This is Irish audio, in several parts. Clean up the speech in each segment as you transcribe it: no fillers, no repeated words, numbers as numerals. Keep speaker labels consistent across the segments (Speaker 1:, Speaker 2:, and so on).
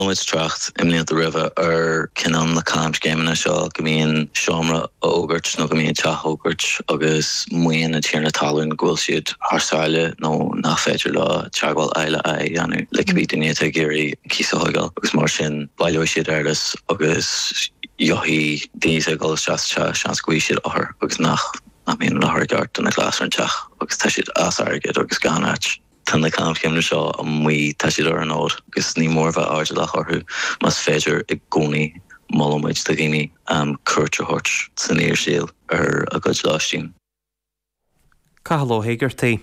Speaker 1: Muid trácht i mblianta roimhe ar cineál na camscéimeanna seo go mbíonn seomra á fhógairt nó go mbíonn teach á fhógairt agus maíonn an tiarna talún go bhfuil siad thar sáile nó nach féidir leo teagmháil aghaidh le aghaidh a dhéanamh le cibé duine atá ag iarraidh cíos a thógáil agus mar sin baileoidh siad eolas agus gheobhaidh daoine atá ag dul isteach sa teach seans go bhfaighidh siad othar agus nach mbíonn an othar i gceart do na glasraí an teach agus tá siad as airgead agus gan áit. Tá na camscéimeanna seo amuigh, tá siad ar an fhód agus ní mór a bheith airdeallach orthu. Más féidir i gcónaí, molann muid do dhaoine cuairt a thabhairt san fhíorshaol ar a gcuid lóistín.
Speaker 2: Cathal Ó hÉigeartaigh.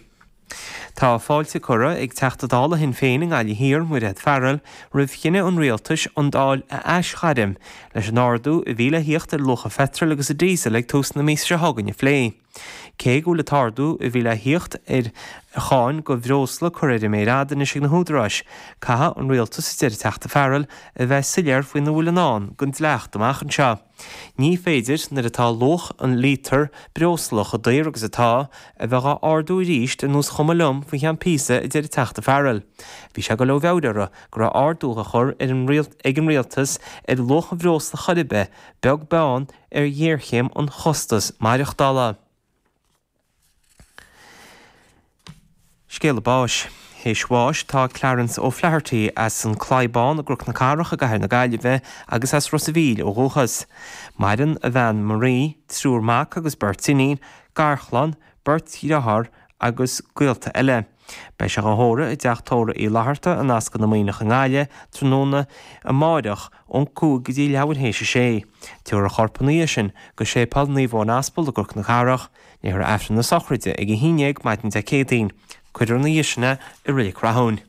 Speaker 2: Tá fáilte curtha ag Teachta Dála Shinn Féin i nGaillimh Thiar, Mairéad Farrell, roimh chinneadh an Rialtais an Dáil a aisghairm leis an ardú a bhí le thíocht ar luach an pheitril agus an díosail ag tús na míosa seo chugainn a phlé. Cé go bhfuil an t-ardú a bhí le thíocht ar cháin do bhreosla curtha ar an méar fhada anois ag na húdaráis, caithfidh an Rialtas, a deir an Teachta Farrell, a bheith soiléir faoina bhfuil i ndán don dleacht amach anseo. Ní féidir, nuair atá luach an líotar breosla chomh daor agus atá, a bheith dhá ardú arís ar nós chuma liom faoi cheann píosa, a deir an Teachta Farrell. Bhí sé ag dul ó mheabhair uirthi go raibh ardú á chur ag an Rialtas ar luach an bhreosla chor ar bith, beag beann ar ghéarchéim an chostais maireachtála. Scéala báis. Théis bháis tá Clarence O'Flaherty as an Claí Bán i gCnoc na Cathrach i gCathair na Gaillimhe agus as Ros a' Mhíl ó dhúchas. Maireann a bhean Marie, triúr mac agus beirt iníon, garchlann, beirt dhearthár agus gaolta eile. Beidh sé dhá thórramh i dTeach Tórraimh Uí Fhlatharta in Ascaill na Muimhneach i nGaillimh tráthnóna amáireach ón 5 go dtí leathuair théis a sé. Tabharfar a chorp ina dhiaidh sin go Séipéal Naomh Eoin Aspal i gCnoc na Cathrach. Léifear Aifreann na sochraide ag 11 maidin Dé Céadaoin. Cuirfear ina dhiaidh sin é i Reilig Rathúin.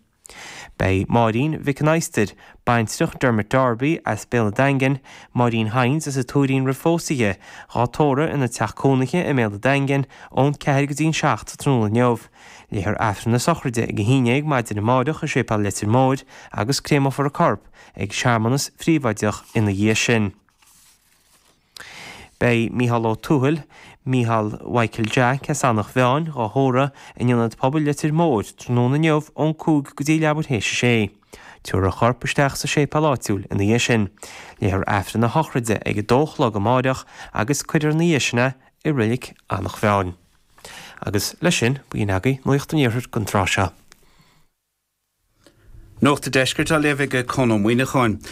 Speaker 2: Beidh Máirín Mhic an Adhastair, baintreach Dermot Darby as Béal an Daingin, Máirín Hynes as an Tuairín roimh phósadh di, dhá tórramh ina teach cónaithe i mBéal an Daingin ón 4 go dtí an 7 tráthnóna inniu. Léifear Aifreann na sochraide ag 11 maidin amáireach i Séipéal Leitir Móir agus créamófar a corp ag searmanas phríobháideach ina dhiaidh sin. Beidh Mícheál Ó Tuathail, Mícheál Mhichael Jack as Eanach Mheáin, dhá thórramh in Ionad Pobail Leitir Móir tráthnóna inniu ón 5 go dtí leathuair théis a sé. Tabharfar a chorp isteach sa séipéal áitiúil ina dhiaidh sin. Léifear Aifreann na sochraide ag a dó a chlog amáireach agus cuirfear ina dhiaidh sin é i Reilig Eanach Mheáin. Agus leis sin, b'in agaibh Nuacht an Iarthair don tráth seo.
Speaker 3: Nuacht an Deiscirt á léamh ag Conn Ó Muíneacháin.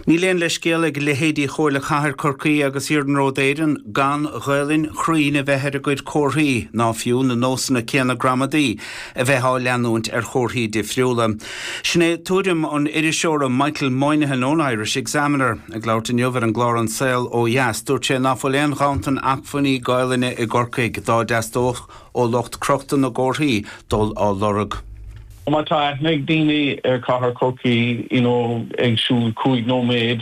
Speaker 3: Níl aon leithscéal ag leithéidí Chomhairle Chathair Chorcaí agus Iarnród Éireann gan Ghaelainn chruinn a bheith ar a gcuid comharthaí, ná fiú na nósanna céanna gramadaí a bheith á leanúint ar chomharthaí difriúla. Sin é tuairim an iriseora Michael Moynihan ón Irish Examiner. Ag labhairt inniu ar an gclár An Saol Ó Dheas, dúirt sé ná fuil aon ghanntan acmhainní Gaelainne i gCorcaigh dá dteastódh ó lucht crochta na gcomharthaí dul á lorg.
Speaker 4: Má tá aithne ag daoine ar chathair Chorcaí, you know, ag siúl 5 nóiméad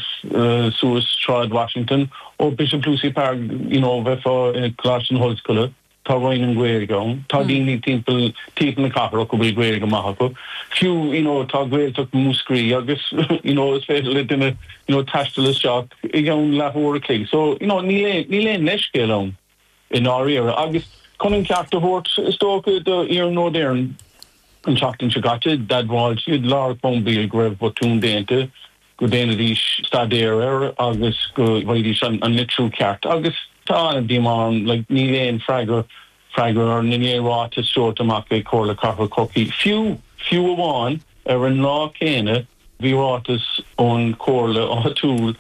Speaker 4: suas Sráid Washington ó Bishop Lucy Park, you know, bheifeá i gColáiste na hOllscoile, tá Roinn na Gaeilge ann, tá daoine timpeall timpeall na cathrach a bhfuil Gaeilge maith acu. Fiú, you know, tá Gaeltacht Mhúscraí agus, you know, is féidir le duine, you know, taisteal isteach i gceann leathuair a chloig. So, you know, níl aon, níl aon leithscéal ann. i ndáiríre. Agus chun an ceart a thabhairt, is dócha, do Iarnród Éireann, an tseachtain seo caite, d'admháil siad Lára Cruimbill go raibh botún déanta, go ndéanfaidís staidéar air agus go bhfaighidís an litriú ceart. Agus tá an-díomá orm, like, níl aon freagra, freagra ar, níl aon ráiteas tabhartha amach ag Comhairle Cathrach Chorcaí. Fiú, fiú amháin, ar an lá céanna, Bhí ráiteas ón chomhairle áitiúil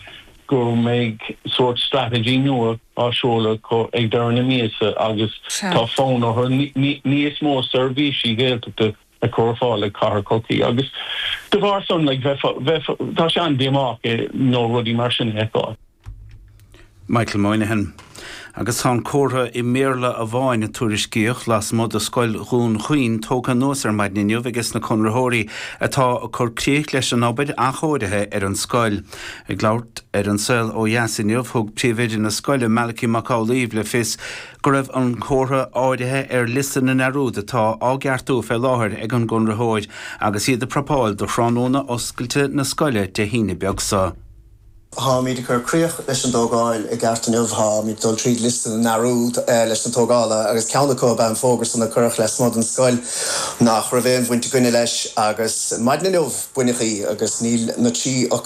Speaker 4: go mbeidh sórt strategy nua á seoladh acu ag deireadh na míosa agus tá fonn orthu níos mó seirbhísí Gaeltachta a chur ar fáil ag Cathair Chorcaí agus de bharr san like bheifeá, tá sé an-díomách you know rudaí mar sin a fheiceáil.
Speaker 3: Michael Moynihan. Agus tá an comhartha i mBéarla amháin a tuairiscíodh lasmuigh de Scoil Dhún Chaoin tógtha anuas ar maidin inniu ages na conraitheoirí atá ag cur críoch leis an obair athchóirithe ar an scoil. Ag labhairt ar An Saol Ó Dheas inniu, thug príomhoide na scoile, Malachy Mac Amhlaoibh le fios go raibh an comhartha áirithe ar liosta na ndearúd atá á gceartú fé láthair ag an gconraitheoir agus iad ag prapáil do thráthnóna oscailte na scoile Dé hAoine beag seo.
Speaker 5: Táimid ag cur críoch leis an dtógáil i gceart inniu. Táimid ag dul tríd liosta na ndearúd leis na tógála agus ceann acu ab ea an fógra san a cuireadh lasmuigh den scoil nach raibh aon bhaint againne leis agus maidin inniu baineadh í agus níl na 13 fhocal.